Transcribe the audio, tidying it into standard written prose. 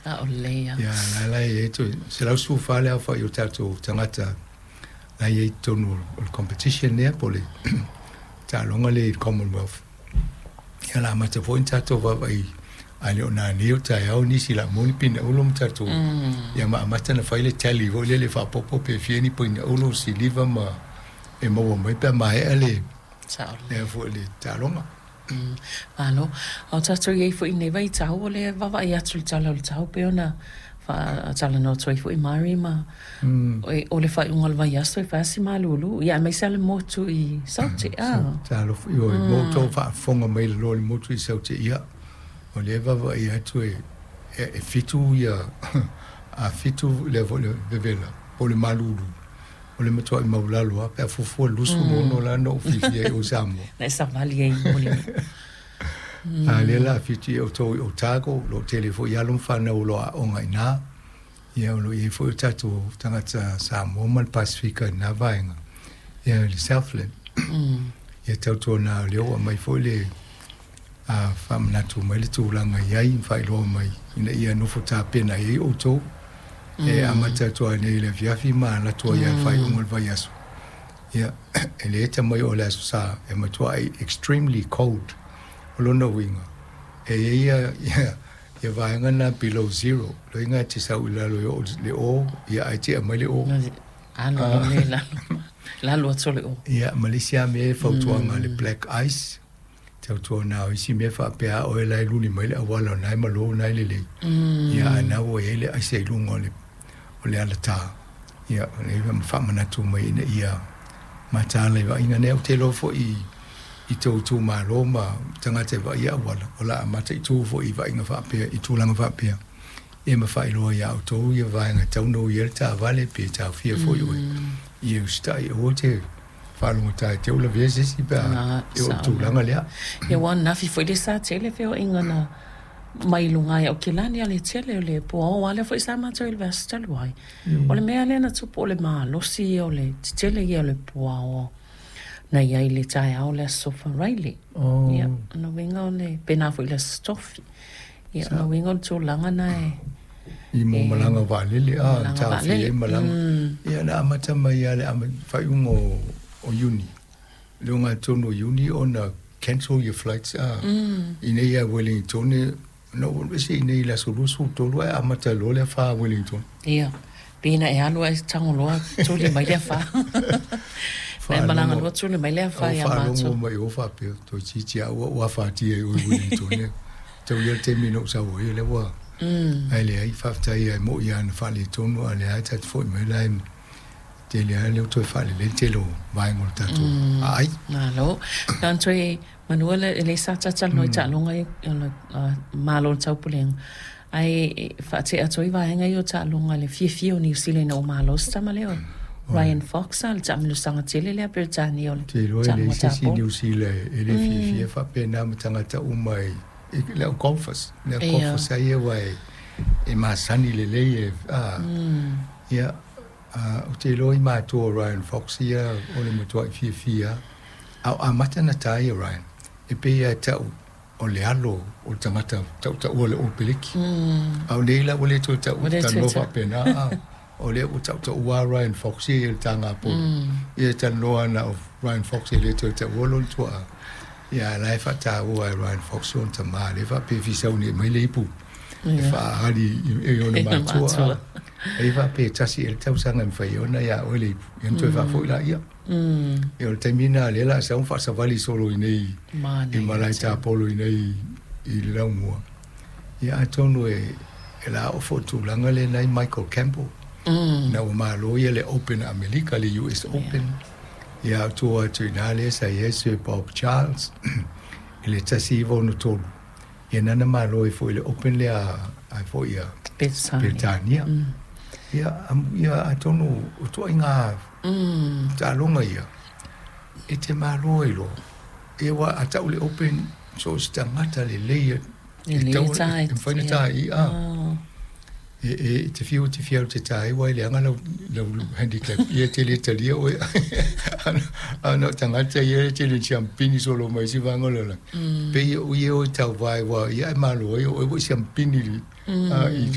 Saolelei lava. Ia, la la e i ai toe 114 le aofai o tatou tagata la e i ai i totonu o le competition lea po o le taaloga lea i le Commonwealth. Ia o le a amata foi ona tatou vaavaai ae le o nanei o taeao nisi o le a maua ni pine auro ma tatou ia ma amata ona fai le tally foi lele faaopoopo pe fia ni paina auro, siliva ma e maua mai pe a maea le Saolelei. Foi le taaloga. Malo. A o tatou i ai foi i lenei vaitau, o lea e vaavaai atu i le tala o le tau pei ona faatalanoa atu ai foi Mari ma o le faaiuga o le vaiaso e fai lava si malulu, ia aemaise lava le motu i Saute. Talofa, ioe, mo outou faafofoga mai i lalo o le motu i Saute, ia, o lea e vaavaai atu e 7 ia, a 7 lea foi le vevela po o le malulu, o le matuai maulalo lava pe a fuafua i le 26 la na ou fiafia ai i o i Samoa. Na e savali ai mo le A lea la 7 ia outou i Otago, o lo o tele foi alo ma fanau o lo o aooga i ina. Ia o lo o i ai foi o tatou tagata Samoa ma le Pasefika i lena vaega, ia i le Southland. Ia tautuana o lea ua aumai foi le faamanatu mai le tulaga i ai ma faailoa mai ina ia nofo tapena i ai outou. E amata atu lava nei i le afiafi ma alu atu ai lava i le faaiuga o le vaiaso. Ia, e le eta mai o le Aso Sa e matuai extremely cold. O lona uiga, e i ai ia vaega na below zero, loiga e te sau i lalo e oo i le o, ia ae tea mai le o. Alu loa le lalo, lalo atu o le o. Ia, ma le isi lava mea e fautuaga le black ice, tautuana o isi mea faapea a oe la e luli mai le auala o lena e malo o lena e lelei, ia a na ua i ai le aisa i luga o le alatā, ia, o lea e faamanatu mai ina ia mataala i vaaiga nei. Ou te iloa foi i tou itumalo ma tagata e vaaia auala, o le a mataitu foi i vaaiga faapea, i tulaga faapea, ia ma faailoa ia outou ia vaega e tatau ona ui ai le taavale pe taofia foi oe, ia usitai aua te faalogogata e te i ua lavea se isi pe a e oo i le tulaga lea. Ia ua anafi foi le sa tele feoaiga na mai luga ai o Aukilani a le tele o le puaoa lea foi sa matou i le vaiaso talu ai. O le mea lea na tupu o le malosi ia o le tetele ia o le puaoa na i ai i le taeao o le Aso Faraile. Ia, o lona uiga o le pena foi i le Aso Tofi. Ia, o lona uiga o le tulaga na e I mo malaga vaalele a taofia ai malaga. Ia na amata mai lava i le faaiuga o Iuni, le ogatotonu o Iuni ona cancel ia flights a i inei ia Wellington na ou alu ese i inei i le aso 23 ae amata loa le afa Wellington. Ia, pei na e alu ae tago loa tuli mai le afa. Na e malaga loa tuli mai le afa ia matou. Faalogo mai o faapea, toeitiiti lava ua ou afatia i o i Wellington. Tau ia le taimi na ou sau ai, o lea ua ae leai, faafetai lava e moni lava na faaletonu, a o lea lava e tatou te foi mai la e tele lava lea ua toe faalelei le tele o vaega o le tatou aai. Malo. Na ona toe manua le lea sa talatalanoa i taaloga ia o le Malo o le Taupulega, ae faatea atu ai vaega ia o taaloga i le fiafia o Niu Sila ina ua malo se tama lea o Ryan Fox, le taamilosaga tele lea a Peretania o le Ou te iloa e leai se isi Niu Sila e le fiafia faapena ma tagata uma i le au golfers, le au golfers lava ia aua e masani lelei e, ia, ou te iloa i matua o Ryan Fox ia o le matuai fiafia lava. A o amata ona ta ia Ryan, e pei lava e tau o le alo o le tagata tautaua o le All Peleki. A o nei la ua le toe tau talanoa faapena, a o lea ua tautaua lava Ryan Fox ia i le taga polo. Ia e talanoa na o Ryan Fox e le toe taua lona tuaa. Ia a o la e faataua e Ryan Fox lona tama lea faapea e fia sauni mai le ipu e faaali i ona matua. E faapea e tasi ea le tausaga e mafai ai ona ia oe le ipu, ia ona toe faafoi laia. Ia o le taimi lena lea o le a sau ma faasavali solo i inei i malae tapolo i inei i le laumua. Ia atonu e la oo foi i le tulaga lea na i ai Michael Campbell, ina ua malo ia le Open a Amerika, le US Open. Ia a o tua atu i ina lea sa i ai Sir Bob Charles i le 1963, ia na na malo ai foi i le Open lea a foi a Peretania. Ia, ia atonu o ituaiga taaloga ia e te malo ai loa. Ia aua a tau le Open, so o se tagata lelei e tatau e mafai ona ta i i. E te fiu te fiu te ta ai aua e leaga lau handicap, ia e te le talia oe. A na o tagata ia e tele siampini solo mai isi vaega o le lalolagi, pei o ia o e tauvae aua o ia e malo ai o oe ua e siampini i